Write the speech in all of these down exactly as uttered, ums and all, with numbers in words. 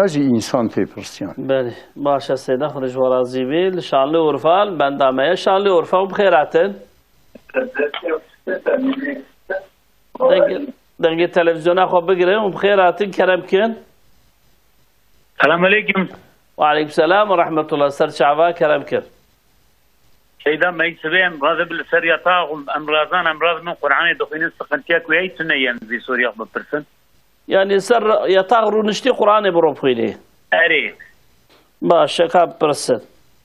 jî însan tê pirsiyan. Belê. Baş e Seyda, Xwedê ji we razî bê. Li Şanlıurfa, li benda me ye. Şanlıurfa û bi xêr hatin. Dengê, dengê televizyona xwe bigirin û bi xêr hatin, kerem kin. Selam aleyküm. Ve aleyküm selam ve rahmetullah. Ser çava, kerem kin. Seyda, me sibê em razê bi li ser yatax û em razan, em raz min Qur'anê dixwînin, sıkıntıya ku heyî tune yên vî soruya xwe bipirsin. Yani ser yatax rûniştî Qur'anê bi rû bixwînî. Erê. Baş e, ka bipirsin.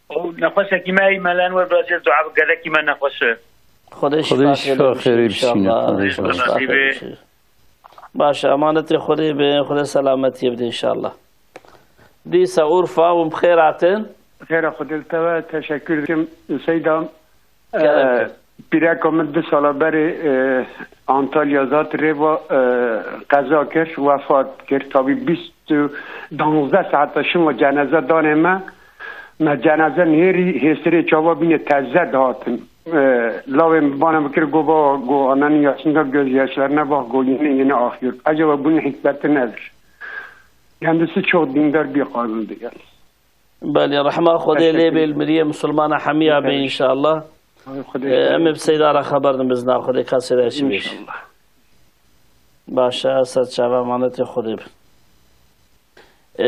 O nexweşekî me heyî, me len we bacê dua bi gelekî me nexweş e. Xwedê Xwedê şifa şifa xêrê xêrê bişîne, inşallah. Xwedê şifa xêrê bişîne. Baş e, emanetê Xwedê be, Xwedê selametiyê bide inşallah. Dîsa Urfa û bi xêr hatin. Xêra Xwedê li te be, teşekkür dikim. Seyda, Kerem e, kir. Pîreka min du sala berê, e, Antalya zat rêva, e, qeza kir, wefat kir. Tabî bîst û danzdeh saeta şima cenaze danê me. Me cenaze nêrî hêsirê çava bîne teze dihatin. E, lawê min bana bikir, go baba, go ananî yaşında gözyaşlarına bak, go yeni yeni akıyor. Acaba bunun hikmeti nedir? Kendisi çok dindar bir kadındı yani. Belê, rehma Xwedê lê bê, li miriyê misilmana hemiya bê inşallah. Ay, Xwedê Ee, em ê bi Seyda re xeber din bizna Xwedê kasê de çi bê. İnşallah. Baş e, ser çava emanetê Xwedê bin. Ee,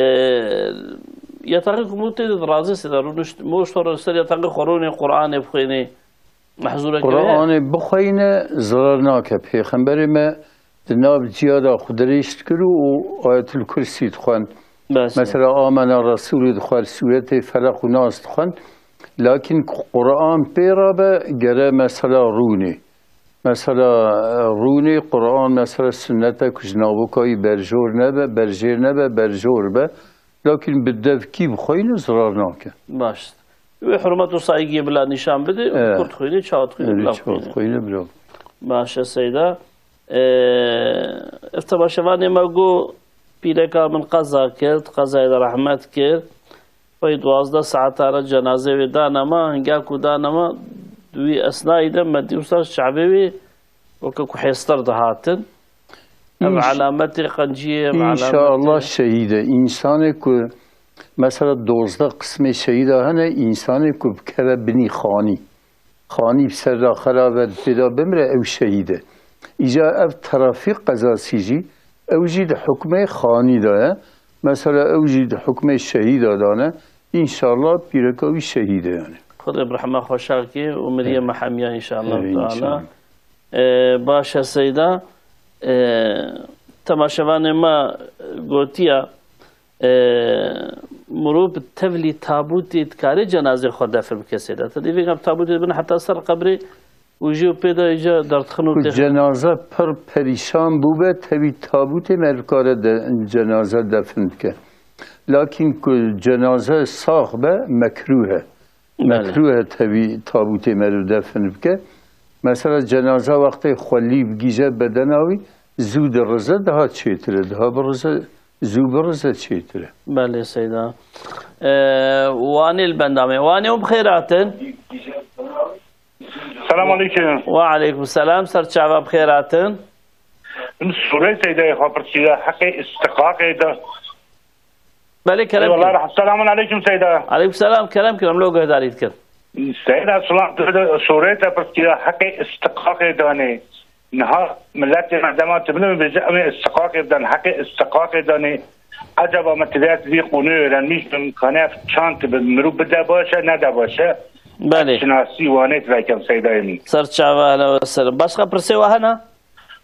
yataxê ku mû tê de razî Seyda, rûnişt, mû ştor ser yataxê xwe rûnê Qur'anê bixwênê. Mehzûreke wê heye? Qur'anê bixweyne, zirar nake. Pêxemberê me di nav cihada xwe dirêj dikir û Ayetul Kursî dixwend. Bes. Mesela, Amena Resûlî dixwend, Sûretê Felaq û Nas dixwend. Lakin Qur'an pê re be, gere mesela rûnê. Mesela, rûnê Qur'an, mesela, sunnete ku ji navokayî berjor nebe, berjêr nebe, berjor be. Lakin bi devkî bixweyne, zirar nake. Baş. Wê hurmet û saygiyê bila nîşan bidê û Evet. Kurt xwînê, çawa dixwînê, Evet, bila çawa xwînê. Dixwîne, bila. Baş e Seyda. Ee, ev temaşevanê me got, pîreka min qeza kir, qezayê de rehmet kir. Pey duwazdeh saeta re cenazê wê dane me, hinga ku dane me, di wî esnayî de me dî wisa çavê wê weke ku hêstir dihatin. Ev Înş-, alametê qenciyê, ev alametê. İnşallah şehîd e. Însanê ku, mesela, dozdeh qismê şehîda hene, însanê ku bikeve binî xanî. Xanî bi ser re xera ve pêda bimire, ew şehîd e. Îca ev trafîk qezasî jî, ew jî di hukmê xanî de ye. Mesela, ew jî di hukmê şehîda de ne. Înşallah pîreka wî şehîd e yani. Xwedê bi rehma xwe şakê û miriyê Evet. me hemiya înşallah Evet, Teala. İnşallah. Ee, baş e Seyda. Ee, temaşevanê me gotiya, ee, mirov bi tevlî tabûtê dikare cenazê xwe defn bike Seyda. Te dî vêga bi tabûtê dibin heta ser qebrê û jî û pê de îca derdixin û Ku têxin. Cenaze pir perîşan bûbe, tevî tabûtê me dikare de, cenaze defn bike. Lakin ku cenaze sax be, mekrûh e. Belê. Mekrûh e tevî tabûtê meriv defin bike. Mesela cenaze wextê xwelî bigîje bedena wî, zû dirize, daha çêtir e. Daha birize, zû birize çêtir e. Belê Seyda. Ee, Wanê li benda me. Wanê û bi xêr hatin. Selam aleyküm. Ve aleyküm selam. Ser çava bi xêr hatin. Min sûreyê Seydayê xwe pirsiya heqê istiqaqê de. Belê, kerem Eyvallah, kin. Selamun aleyküm Seyda. Aleyküm selam, kerem kin, em lo guhdarî dikin. Seyda, selam, tu de sûreyê te pirsiya heqê istiqaqê danê. Niha milletê me dema tu bine bêje, em ê istiqaqê bidan, heqê istiqaqê danê. Acaba me tu dest vî qûnê öğrenmiş bin, kane ev çand tu bi mirû bide baş e, nede baş e? Belê. Şinasî wanê tu vekem Seydayê min. Ser çava hele we ser. Başka pirsê we hene?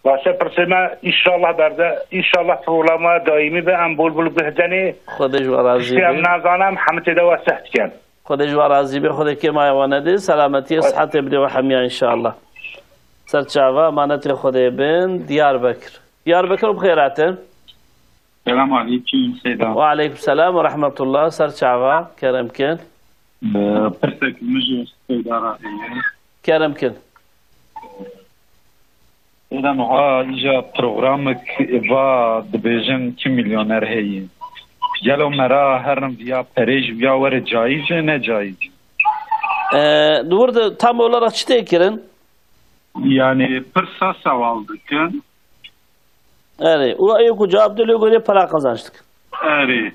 Baş e, pirsê me, înşallah berde, înşallah programa daîmî be, em bol bol guh denê. Xwedê ji we razî Tiştê em be. Nazanim, hemî tê de we seh dikin. Xwedê ji we razî be, Xwedê kêmaya we nede, selametiyê, Xwedê. Sihetê bide we hemiya înşallah. Ser çava, emanetê Xwedê bin, Diyarbekir. Diyarbekir bi xêr hatin. Selam aleyküm, Seyda. Ve aleyküm selam ve rahmetullah. Ser çava, kerem kin. Ee, pirsek min ji Seyda re heye. Kerem kin. Seyda, niha îja programek va dibêjin kî milyoner heye. Gelo me ra herin viya perê ji viya were caiz e, ne caiz? Ee, di wir de tam olarak çi tê kirin? Yani pirsa sewal dikin. Erê, û ê ku cevap de lê gorê para qazanç dikin. Erê.